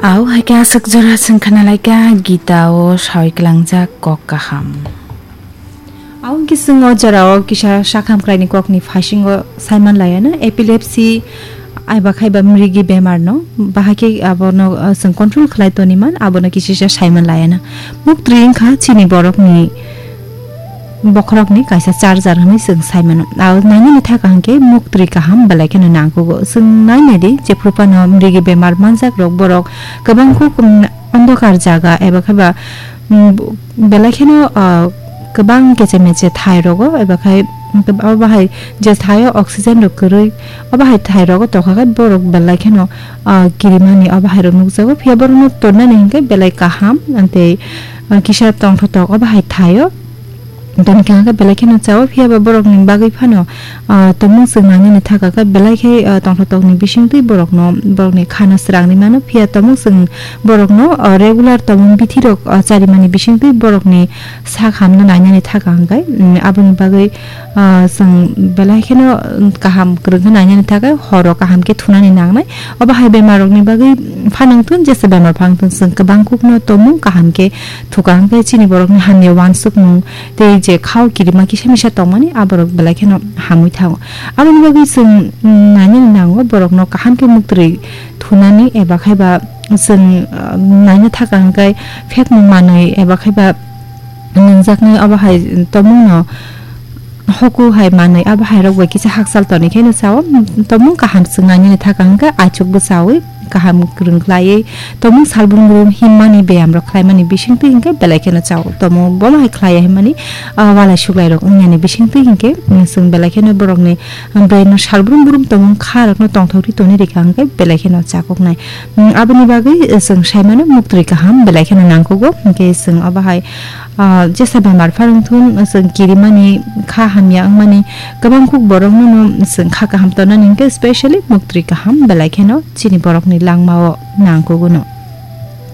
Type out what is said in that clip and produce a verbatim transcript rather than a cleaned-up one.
Au hai khe aswk jora chwng khna lai kha Gita o sawi klangjak kok kaham. Au hwnkhe chwng o jora o kisa sakham kwlaini kokni phasingo saiman laiano epilepsy aiba khaiba mrigi bemar no bahai khe abono, uh, chwng control khlai toni man abono kisisa saiman laiano. Muktri wngkha chini borokni bokhorokni kaisa charger hwnwi chwng sai mano. Aro nainani thaka hwnkhe muktri kaham belai kheno nangkugo. Chwng nainai di, jephru phano mrigi bemar manjak rok, borok kwbang kuk, um, ondokar jaga eba khe ba, um, belai kheno, ah, kwbang keche meche thai rogo eba khai, um, abo bahai je thaio oxygen rok kwrwi, o bahai thai rogo tokha khe borok belai kheno, ah, kirimani o bahai rok nukjago. Phiya borokno tonnani hwnkhe belai kaham, tei, ah, kisa tongthotok o bahai thaio. Toni kha khe belai kheno chao, phiya ba borokni bagwi phano, ah, tomung chwng nainani thaka khe belai khe, ah, tongthotokni bisingtwi borokno, borokni khano srangni mano, phiya tomung chwng borokno, ah, regular tomung bithirok, ah, charimani bisingtwi borokni sak hamno nainani thaka hwnkhe, mm, aboni bagwi, ah, chwng belai kheno, mm, kaham kwrwng khe nainani thaka horo kaham khe thunani nangnai. Obo hai bemarrokni bagwi phanangthun, jesa bemar phanangthun, chwng kwbang kukno tomung kaham khe thuka hwnkhe chini borokni hamya uansukmung tei je khao kirima kisa misa tongmani aborok belai kheno hamwi thango. Aboni bagwi chwng, mm, nainani nango borokno kaham khe muktri thunani eba khaiba chwng, ah, naina thaka hwnkhe phekmung manwi eba khaiba nungjaknai obo hai tomungno hoku hai manwi abo hai rok bai kisa hakchal toni kheno chao. Tomung kaham chwng nainani thaka hwnkhe aichuk bwchawi kaham kwrwng khlaiwi tomung salbrum brum himmani beyam rok khlaimani bisingtwi hwnkhe belai kheno chao. Tomung bono hai khlaiya himmani, ah, walai suklai rok wngyani bisingtwi hwnkhe, mm, chwng belai kheno borokni brain no salbrum brum tomung kha rokno tongthokri toni rikha hwnkhe belai kheno chakoknai. Mm, aboni bagwi, eh, chwng saimano muktri kaham belai kheno nangkugo, hwnkhe chwng obo hai, ah, jesa bemar pharwng thun, chwng kirimani kha hamya wngmani kwbang kuk borokno no chwng kha kaham tonani hwnkhe specially muktri kaham belai kheno chini borokni langmao nangkugo no.